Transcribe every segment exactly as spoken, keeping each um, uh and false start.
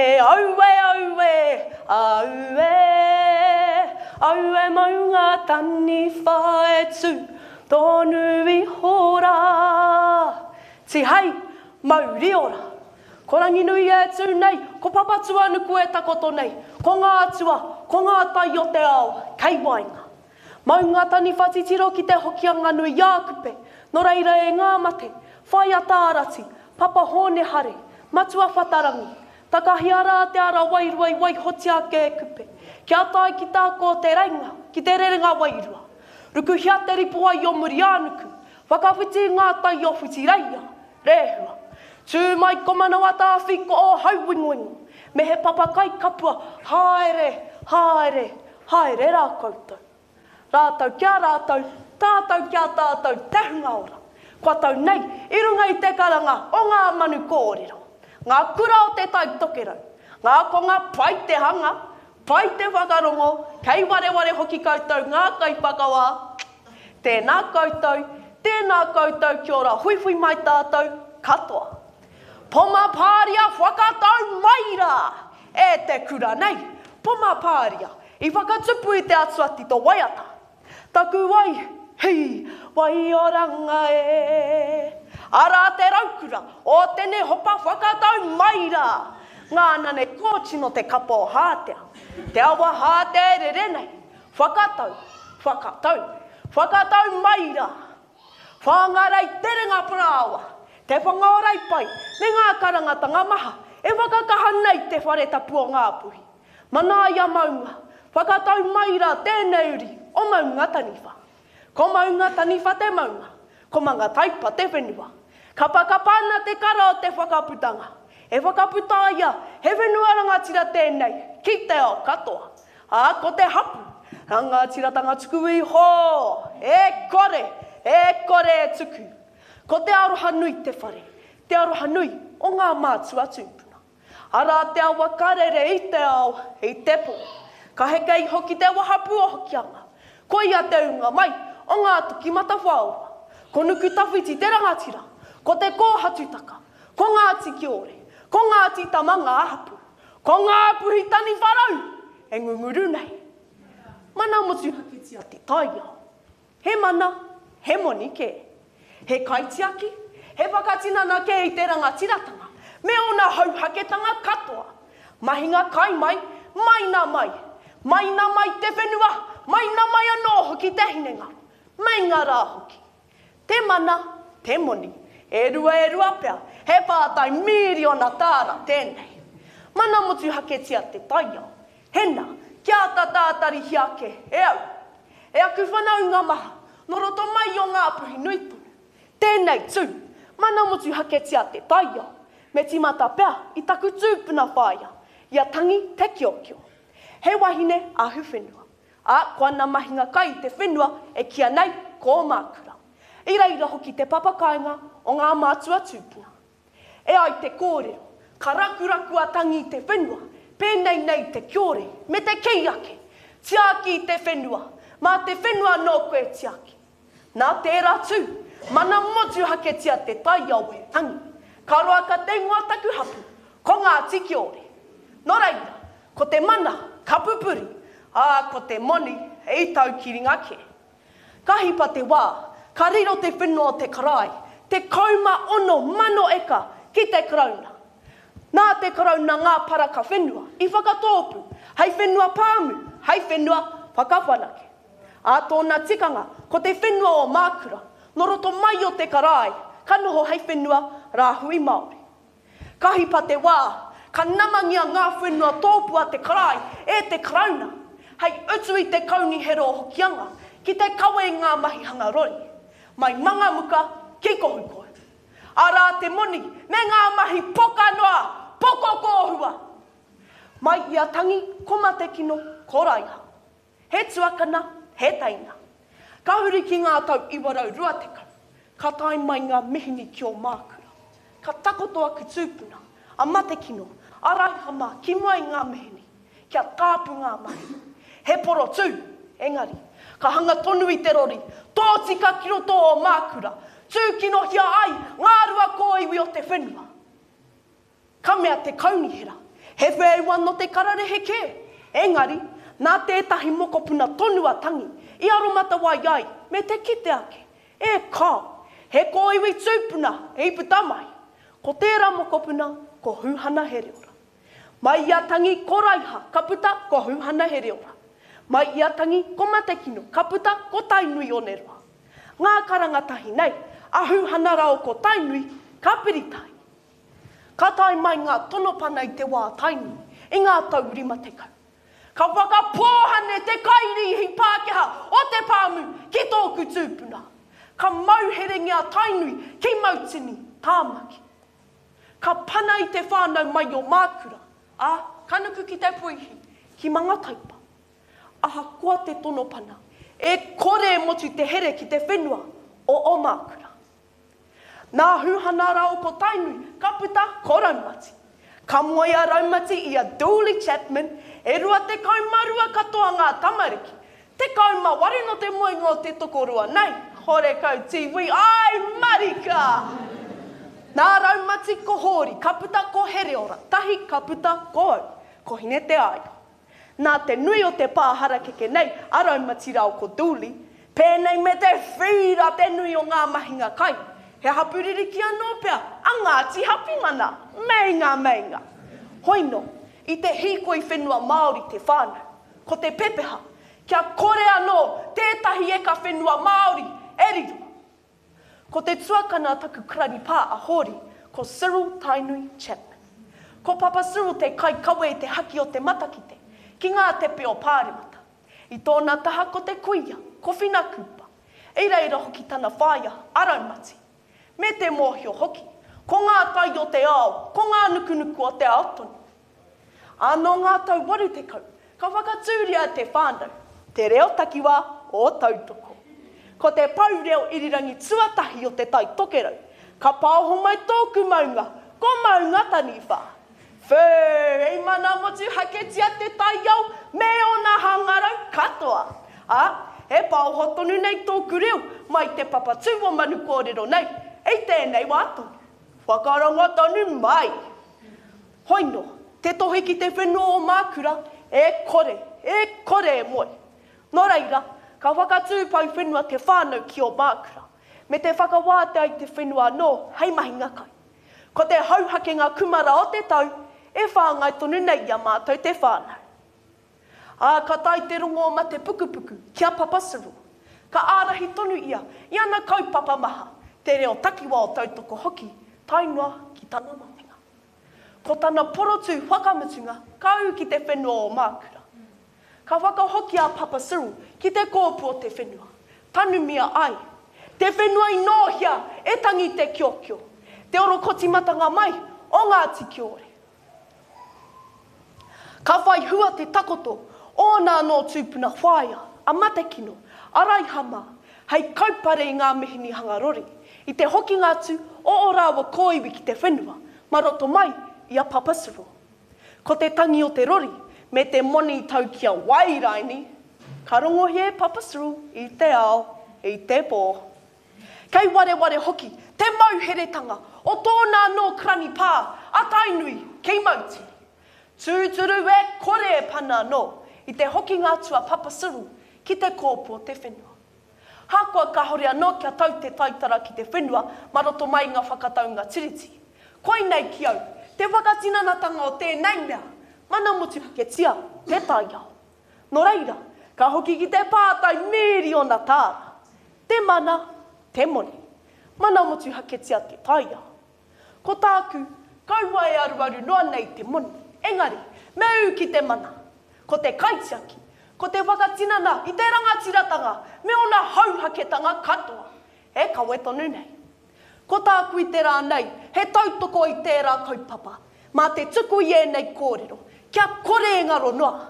Aue, aue, aue, aue maunga taniwha e tū tonu iho rā. Tihei, mauri ora. Ko Ranginui e tū nei, ko Papatūānuku e takoto nei, ko ngā atua, ko ngā tai o te ao, kei waenga. Maunga taniwha titiro ki te Hokianga nui a Kupe, nō reira e ngā mate, whaia tārati, Papa Hōne Hare, Matua Whatarangi, takahia rā te ara wairua i waihotia ake e Kupe, kia tae ki tā ko te reinga, ki te rerenga wairua. Rukuhia te ripoai o Muri-ā-nuku, whakawhiti i ngā tai o Whitireia, Rehua. Tū mai ko Manawatāwhi ko ō hauwingoingo, me he papa kai kapua, haere, haere, haere rā koutou. Rātou ki a rātou, tātou ki a tātou te hunga ora. Kua tau nei i runga i te karanga o ngā manu kōrero, ngā kura o te Tai Tokerau, ngā konga pai te hanga, pai te whakarongo, kei wareware hoki koutou ngā kaiwhakawā. Tēnā koutou, tēnā koutou kia ora huihui mai tātou katoa. Poma Pāria whakatau mai rā! E te kura nei, Poma Pāria, i whakatupu i te atua tito waiata. Taku wai, hi, waioranga e. Arā te raukura o tene hopa whakatau mai rā! Ngā nane kōtino te kapa o Hātea, te awa Hātea e rere nei. Whakatau, whakatau, whakatau mai rā! Whāngarei terenga parāoa, te whanga o Reipai me ngā karangatanga maha e whakakaha nei te whare tapu o Ngāpuhi. Manaia maunga, whakatau mai rā tēnei uri o Maunga Taniwha. Ko Maunga Taniwha te maunga, ko Mangataipa te whenua. Kapakapa ana te kara o te whakaputanga, e whakaputa ia he whenua rangatira tēnei ki te ao katoa. Ā, ko te hapu, rangatiratanga tuku iho, e kore, e kore e tuku. Ko te aroha nui te whare, te aroha nui o ngā mātua tūpuna. Arā te awa ka rere i te ao, i te pō. Ka heke iho ki te wahapū o Hokianga. Koia te ūnga mai o ngā toki matawhaorua. Ko Nukutawhiti te rangatira, ko Te Kōhatutaka, ko Ngāti Kiore, ko Ngāti Tama ngā hapū. Ko Ngāpuhi taniwha rau e ngunguru nei. Mana motuhaketia te taiao. He mana, he moni kē. He kaitiaki, he whakatinana kē i te rangatiratanga, me ōna hauhaketanga katoa. Mahinga kai mai, maina mai. Maina mai te whenua, maina mai anō hoki te hinengaro. Meinga rā hoki. Te mana, te moni, e rua e rua pea, he pātai mīriona tāra tēnei. Mana motuhaketia te taiao. Hena, kia āta tātarihia ake e au. E aku whanaunga maha, nō roto mai o Ngāpuhi nui tonu. Tēnei tū, mana motuhaketia te taiao. Me tīmata pea i taku tūpuna whāia, i a Tangi Te Kiokio. He wahine ahu whenua, ā, ko ana mahinga kai i te whenua e kīia nei ko Mākura. I reira hoki te papakāinga o ngā mātua tūpuna. E ai te kōrero, ka rakuraku a Tangi i te whenua, pēnei nei te kiore, me te kī ake, Tiaki i te whenua, mā te whenua anō koe e tiaki. Nā tērā tū, mana motuhaketia te taiao e Tangi. Ka roa ka te ingoa taku hapu, ko Ngāti Kiore. Nō reira, ko te mana ka pupuri, ā, ko te moni i taukiringa kē. Ka hipa te wā, ka riro te whenua o te karae, tekau mā ono mano eka ki te Karauna. Nā te Karauna ngā paraka whenua i whakatōpū hei whenua pāmu, hei whenua whakawhanake. Ā tōna tikanga, ko te whenua o Mākura, nō roto mai o te karae, ka noho hei whenua rāhui Māori. Ka hipa te wā, ka namangia ngā whenua tōpū a te karae e te Karauna, hei utu i te Kaunihera o Hokianga ki te kawe i ngā mahi hanga rori, mai Mangamuka ki Kohukohu. Arā te moni me ngā mahi poka noa, poko kōhua! Mai i a Tangi, ko Matekino, ko Raiha. He tuakana, he teina. Ka huri ki ngā tau iwa rau rua tekau, ka tae mai ngā mihini ki Ōmākura. Ka takoto aku tūpuna, a Matekino, a Raiha mā ki mua i ngā mihini, kia tāpu ngā mahi. He porotū, engari, ka hanga tonu i te rori, tōtika ki roto o Ōmākura, tūkinohia ai ngā rua kōiwi o te whenua. Ka mea te kaunihera, He whēua nō te kararehe kē, engari, nā tētahi mokopuna tonu a Tangi i aromatawai ai me te kite ake, e kāo, he kōiwi tūpuna i puta mai. Ko tērā mokopuna ko Huhana Hereora. Mai i a Tangi ko Raiha ka puta ko Huhana Hereora. Mai i a Tangi ko Matekino ka puta ko Tainui Oneroa. Ngā karanga tahi nei, a Huhana rāo ko Tainui ka piri tahi. Ka tae mai ngā tono pana i te wā Tainui, i ngā tau rima tekau. Ka whakapōhane te kairīhi Pākehā o te pāmu ki tōku tūpuna. Ka mauherengia Tainui ki Mautini, Tāmaki. Ka pana i te whānau mai o Mākura, ā, ka nuku ki te puihi, ki Mangataipa. Ahakoa te tono pana, e kore e motu te here ki te whenua o Omākura. Nā Huhana rāo ko Tainui ka puta ko Raumati. Ka moe a Raumati i a Dooley Chapman, e rua tekau ma rua katoa ngā tamariki. Tekau ma waru no te moenga o te tokorua nei, horekau tīwī, ai marika! Nā Raumati ko Hōri ka puta ko Hereora, tahi ka puta ko au, ko Hineteāio. Nā te nui o te pā harakeke nei a Raumati rāo ko Dooley, pēnei me te whīra te nui o ngā mahinga kai, he hapū ririki anō pea a Ngāti Hapimana, meinga meinga. Hoino, i te hīkoi whenua Māori te whānau, ko te pepeha, kia kore anō tētahi eka whenua Māori e riro. Ko te tuakana a taku karani pā a Hōri, ko Cyril Tainui Chapman. Ko Papa Cyril te kaikawe i te haki o te matakite, ki ngā tepe o Pāremata. I tōna taha ko te kuia, ko Whina Cooper. I reira hoki tana whaea, a Raumati. Me te mōhio hoki, ko ngā tai o te ao, ko ngā nukunuku o te ao tonu. Ā, nō ngā tau waru tekau, ka whakatūria te whānau, te reo takiwā o Tautoko. Ko te pou reo irirangi tuatahi o Te Tai Tokerau, ka paoho mai tōku maunga, ko Maunga Taniwha. Whū, i mana motuhaketia te taiao me ōna hangarau katoa. Ā, e paoho tonu nei tōku reo mai te papatū o Manu Kōrero nei, i tēnei wā tonu. Whakarongo tonu mai! Hoino, te tohe ki te whenua o Mākura, e kore, e kore e moe. Nō reira, ka whakatū pou whenua te whānau ki Ōmākura, me te whakawātea i te whenua anō hei mahinga kai. Ko te hauhakenga kumara o te tau e whāngai tonu nei i a mātou te whānau. Ā, ka tae te rongo o mate pukupuku ki a Papa Cyril. Ka ārahi tonu ia i ana kaupapa maha, te reo takiwā o Tautoko hoki, tae noa ki tana matenga. Ko tana porotū whakamutunga ka ū ki te whenua o Mākura. Ka whakahoki a Papa Cyril ki te kōpū o te whenua, tanumia ai. Te whenua i nōhia e tangi te kiokio, te orokotimatanga mai o Ngāti Kiore. Ka whai hua te takoto ōna anō tūpuna whaea, a Matekino, a Raiha mā, hei kaupare i ngā mihini hanga rori, i te hokinga atu o ō rāua kōiwi ki te whenua, mā roto mai i a Papa Cyril. Ko te tangi o te rori, me te moni tau ki a Wairaini, ka rongohia e Papa Cyril i te ao, i te pō. Kei wareware hoki te mauheretanga o tōna anō karani pā a Tainui ki Mautini. Tūturu e kore e pana anō i te hokinga atu a Papa Cyril ki te kōpū o te whenua. Hakoa kāhore anō kia tau te taitara ki te whenua mā roto mai i ngā whakataunga tiriti. Koinei ki au, te whakatinanatanga o tēnei mea, mana motuhaketia te taiao. Nō reira, ka hoki ki te pātai mīriona tāra. Te mana, te moni. Mana motuhaketia te taiao. Ko tāku, kaua e aruaru noa nei te moni, engari, me ū ki te mana. Ko te kaitiaki, ko te whakatinana i te rangatiratanga me ōna hauhaketanga katoa, e kawe tonu nei. Ko tāku i te rā nei, he tautoko i tērā kaupapa, mā te tuku i ēnei kōrero, kia kore e ngaro noa.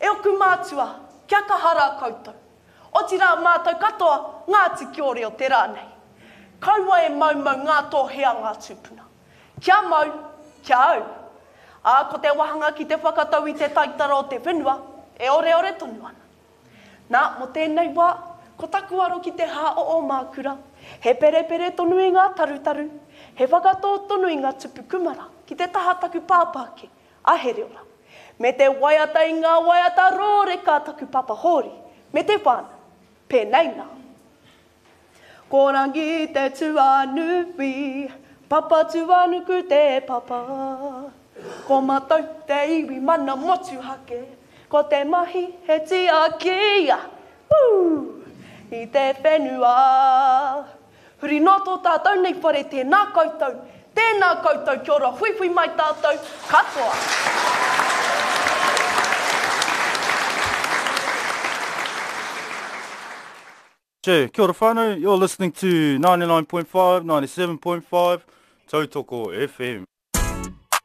E oku mātua, kia kaha rā koutou. Otirā mātou katoa, Ngāti Kiore o te rā nei. Kaua e maumau ngā tōhe a ngā tūpuna. Kia mau, kia au. Ā, ko te wāhanga ki te whakatau i te taitara o te whenua, e oreore tonu ana. Nā, mō tēnei wā, ko taku aro ki te hā o Ōmākura, he perepere tonu i ngā tarutaru, he whakatō tonu i ngā tupu kumara ki te taha taku pāpā ake, a Hereora. Me te waiata i ngā waiata rōreka taku papa Hōri, me te whānau. Pēnei nā. Ko Rangi te tuanui, Papatūānuku te papa. Ko mātou te iwi mana motuhake, ko te mahi he tiaki, woo, i te whenua. Huri noa tō tātou nei whare tēnā koutou, tēnā koutou kia ora huihui mai tātou katoa. Che, kia ora whānau, you're listening to ninety-nine point five, ninety-seven point five, Tautoko F M.